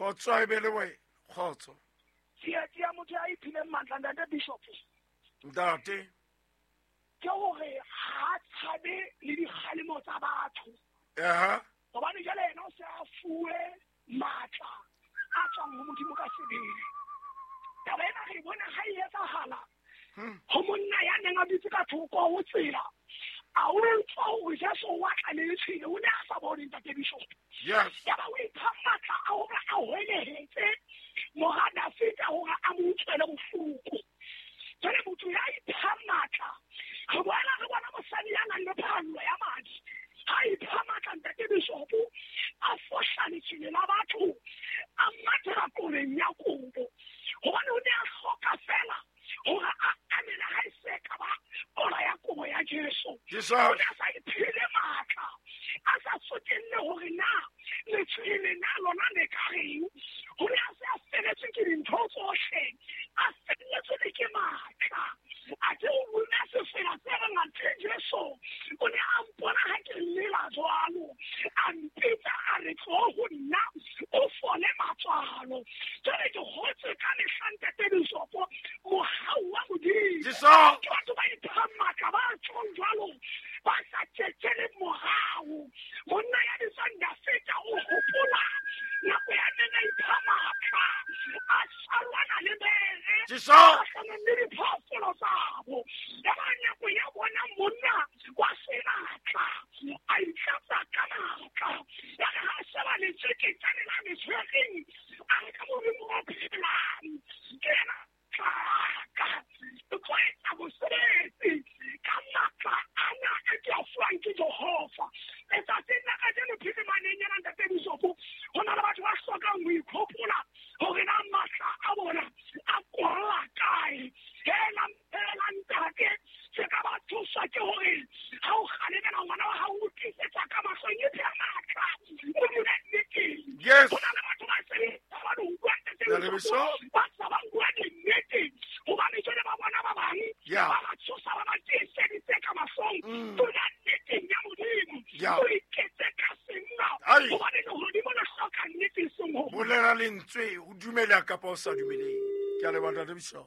Kgotso a e be le wena. Kgotso. Tsietsi ya motho ya iphileng matla, Ntate Bishop. Ntate. Ke hore ha tshabe le dikgalemo tsa batho. Aha. Hobane jwale yena o se a fuwe matla a tswang ho Modimo ka sebele. Taba ena re e bona ha e etsahala ho monna ya neng a dutse ka thoko ho tsela. A utlwa hore Jesu wa tla le letshwele, o ne a sa bone, Ntate Bishop. Yes. Yaba o ipha matla a hore a hwelehetse mora Dafita hore a mo utlwele bohloko. Jwale motho ya ipha matla, re boela re bona mosadi ya nang le phallo ya madi. Ha ipha matla, Ntate Bishop, a fohla letshwele la batho, a mathela koreng ya kobo. Hobane o ne a hloka fela hore a amele ha e se ka ba kola ya kobo ya Jesu. Jesus. O ne a sa iphile matla, a sa tsotelle hore na letshwele na lona le ka reng. O ne a se a feletswe ke dintho tsohle, a felletswe le ke matla. A ke o buna sefela se reng athe Jesu o ne a mpona ha ke lela jwalo, a mpitsa a re tlo ho nna o fole matswalo. Jwale ke hotse ka mehla, Ntate Bishop, mohau wa Modimo. Jesus. Ke batho ba iphang matla, ba tjhong jwalo, ba sa tjhetjheleng morao. Monna ya bitswang Dafita o hopola nako ya neng a ipha matla, a salwana le bere, Jesus. kgahlanong le diphoofolo tsabo. Ya ba nako ya bona monna wa senatla a itlatsa ka matla. Ya re ha a sheba letjeketjane la le tshwereng, a re ka Modimo o phelang, ke yena tlaka. Ke tlo etsa mosebetsi ka matla ana a ke a fuwang ke Jehova. Letsatsing la kajeno phirimaneng ena, Ntate Bishop, ho na le batho ba hlokang ho ikhopola hore na matla a bona a kolla kae. Hela, hela ntate, se ka ba thuswa ke hore ha o kgalemela ngwana wa hao o tlisetsa ka mahlong, e phe matla, o dule nneteng. Yes. Ho na le batho ba seng ba le utlwa, Ntate Ntate Bishop, Bishop. ba sa ba bua dinnete hobane jwale ba bona ba bang Yeah. ba ba tshosa, ba ba tiiseditse ka mahlong. Dula nneteng ya Modimo. Yeah. O iketse ka senna Ai. hobane lehodimo le hloka nnete e seng ho Bolela lentswe, o dumela kapa o sa dumeleng. Ke a leboha, Ntate Bishop.